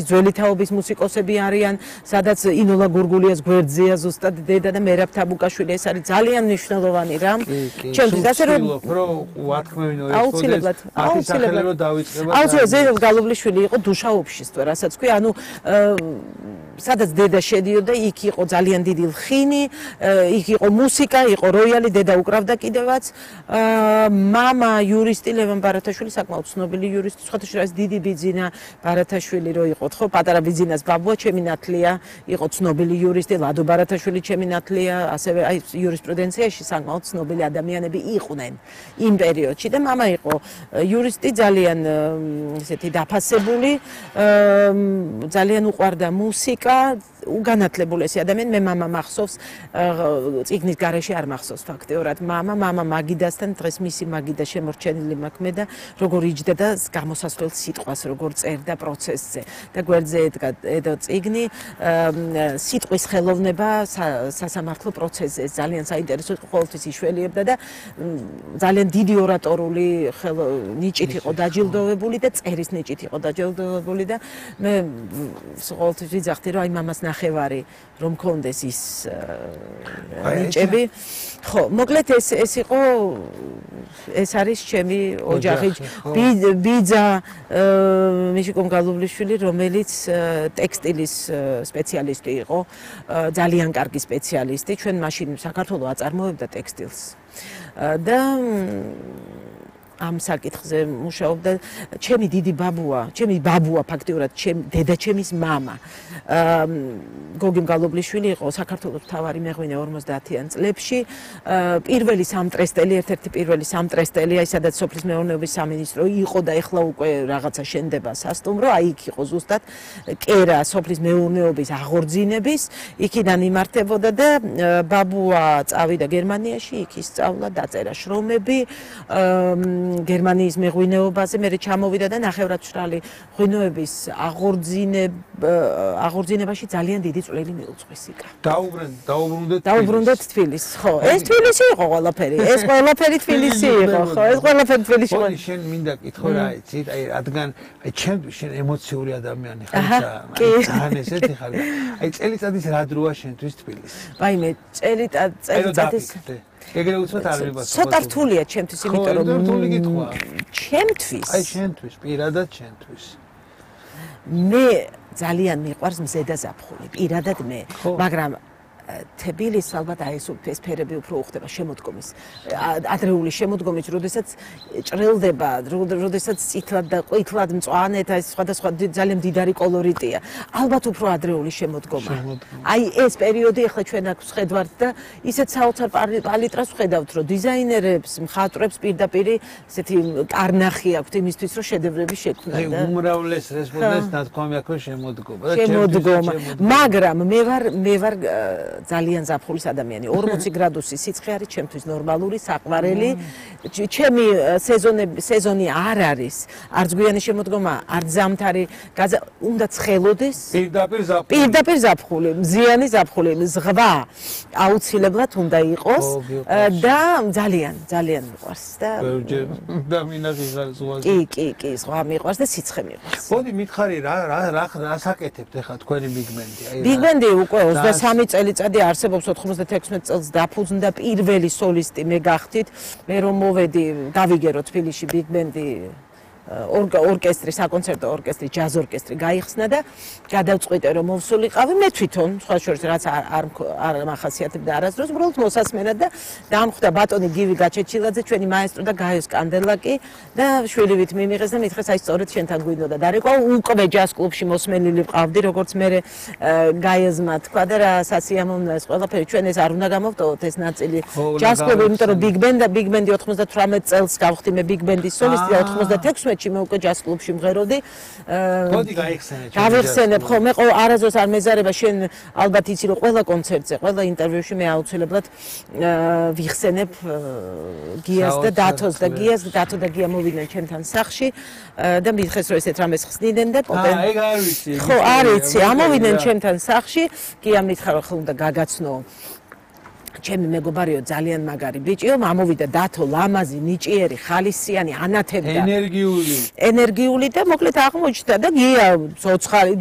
ძველი თაობის მუსიკოსები არიან, სადაც ინოლა გურგულიას გვერდზეა ზუსტად დედა და მერაბ თაბუკაშვილი, ეს არის ძალიან მნიშვნელოვანი რამ. ჩემთვის ასე რომ აუცილებლად ზეიმ გალობლიშვილი იყო დუშაობშისტ, რასაც ქვია, ანუ სადაც დედა შედიოდა, იქ იყო ძალიან დიდი ლხინი, იქ იყო მუსიკა, იყო როიალი, დედა უკრავდა კიდევაც. მამა იურისტი ლევან ბარათაშვილი, საკმაოდ ცნობილი იურისტი, სხვადასხვა დიდი ბიძინა ბარათაშვილი რო იყო, ხო, პატარა ბიძინას ბაბუა, ჩემი ნათლია, იყო ცნობილი იურისტი, ლადო ბარათაშვილი ჩემი ნათლია, ასევე აი იურისპრუდენციაში საკმაოდ ცნობილი ადამიანები იყვნენ იმ პერიოდში და მამა იყო იურისტი, ძალიან ესეთი დაფასებული, ძალიან უყვარდა მუსიკა, უგანათლებული ეს ადამიანი, მე მამა მახსოვს, წიგნის გარეშე არ მახსოვს ფაქტიურად მამა მაგიდასთან, დღეს მისი მაგიდა შემორჩენილი მაქვს მე და როგორ იჯდა და გამოსასვლელ სიტყვას როგორ წერდა პროცესზე და გვერდზე ედგა წიგნი სიტყვის ხელოვნება სასამართლო პროცესზე, ძალიან საინტერესო ყოველთვის იშველიებდა და ძალიან დიდი ორატორული ნიჭით იყო დაჯილდოვებული და წერის ნიჭით იყო დაჯილდოვებული და მე ყოველთვის ვიძახდი რომ აი მამას ნახევარი რომ მქონდეს ის ნიჭები. ხო, მოკლედ ეს იყო ეს არის ჩემი ოჯახი. ბიძა მიშიკომ გალობლიშვილი, რომელიც ტექსტილის სპეციალისტი იყო, ძალიან კარგი სპეციალისტი. ჩვენ მაშინ საქართველოს აწარმოებდა ტექსტილს. და ამ საკითხზე მუშაობდა ჩემი დიდი ბაბუა ფაქტიურად დედა ჩემის მამა გოგიმ გალობლიშვილი იყო საქართველოს მთავარი მეღვინე 50-იან წლებში პირველი სამტრესტელი ერთ-ერთი პირველი სამტრესტელი აი სადაც სოფლის მეურნეობის სამინისტრო იყო და ეხლა უკვე რაღაცა შენდება სასტუმრო აი იქ იყო ზუსტად კერა სოფლის მეურნეობის აღორძინების იქიდან იმართებოდა და ბაბუა წავიდა გერმანიაში იქ ისწავლა დაწერა შრომები გერმანიის მეღვინეობაზე, მე ჩამოვიდა და ნახევრადმშრალი ღვინოების აღორძინებაში ძალიან დიდი წვლილი მიუძღვის იქა. დაუბრუნდეთ თბილისს, ხო. ეს თბილისი იყო ყველაფერი. ეს ყველაფერი თბილისი იყო, ხო. ეს ყველაფერი თბილისი იყო. შენ მინდა კითხო რა იცით, აი რადგან აი ჩემთვის შენ ემოციური ადამიანი ხარ და ძალიან ესეთი ხარ. აი წელიწადის რა დროა შენთვის თბილისი? ვაიმე, წელიწადის ეგრე უცბად არ ვიბას. ცოტა რთულია ჩემთვის, იმიტომ რომ რთული კითხვა. ჩემთვის. აი შენთვის, პირადად შენთვის. მე ძალიან მიყვარს მზედა ზაფხული, პირადად მე, მაგრამ თბილისს ალბათ აი ეს ფერები უფრო უხდება შემოდგომის. ადრეული შემოდგომის, როდესაც ჭრილდება, როდესაც წითლად და ყვითლად მწვანეთ, აი სხვადასხვა ძალიან მდიდარი კოლორიტია. ალბათ უფრო ადრეული შემოდგომა. აი ეს პერიოდი ახლა ჩვენ აქ ვხედავთ და ისეთ საოცარ პალიტრას ვხედავთ, რომ დიზაინერებს, მხატვრებს პირდაპირ ესეთი კარნახი აქვთ იმისთვის, რომ შედევრები შექმნან და აი უმრავლეს რესპონდენტს ნათქვამი აქვს შემოდგომა. მაგრამ მე ვარ ძალიან ზაფხულის ადამიანი. 40 გრადუსი სიცხე არის ჩემთვის ნორმალური, საყვარელი. ჩემი სეზონი არ არის. არც გვიანი შემოდგომა, არც ზამთარი, უნდა ცხელოდეს. პირდაპირ ზაფხული, მზიანი ზაფხული, ზღვა აუცილებლად უნდა იყოს და ძალიან მიყვარს და და მინახი ზღვაზე. კი, ზღვა მიყვარს და სიცხე მიყვარს. მოდი მითხარი რა საკეთებთ ახლა თქვენი ბიგბენდი? ბიგბენდი უკვე 23 წელიწადი არსებობს 96 წელს დაფუძნდა პირველი სოლისტი მე გახდით მე რომ მოვედი გავიგერო თბილისში ბიგბენდი ორკესტრი საკონცერტო ორკესტრი ჯაზ ორკესტრი გაიხსნა და გადავწყვიტე რომ მოვსულიყავი მე თვითონ სხვა შორის რაც არ მახასიათებდა არასდროს უბრალოდ მოსასმენად და დამხვდა ბატონი გივი გაჩეჩილაძე ჩვენი მაესტრო და გაიოს კანდელაკი და შვილივით მიმიღეს და მითხეს აი სწორედ შენთან გვინდოდა დარეკვა უკვე ჯაზ კლუბში მოსმენილი ვყავდი როგორც მე გაიოზმა თქვა და რა სასიამოვნოა ეს ყველაფერი ჩვენ ეს არ უნდა გამოვტოვოთ ეს ნაწილი ჯაზ კლუბი იმიტომ რომ ბიგბენდი 98 წელს გავხდი მე ბიგბენდის სოლისტი და 96 მე უკვე ჯაზ კლუბში მღეროდი. მოდი გაიხსენე. გავიხსენებ ხო, მე არასდროს არ მეზარება შენ ალბათ იცი რომ ყველა კონცერტზე, ყველა ინტერვიუში მე აუცილებლად ვიხსენებ გიას და დათოს და დათო და გია მოვიდნენ ჩემთან სახლში და მითხეს რომ ესეთ რამეს ხსნიდნენ და პოპენ. ეგ არ ვიცი. ხო, არ იცი, ამოვიდნენ ჩემთან სახლში, გია მითხრა რომ ხო უნდა გაგაცნო ჩემი მეგობარიო ძალიან მაგარი ბიჭიო, მამოვიდა დათო ლამაზი, ნიჭიერი, ხალისიანი, ანათებდა. ენერგიული ენერგიული და მოკლედ აღმოჩნდა და გია ცოცხალი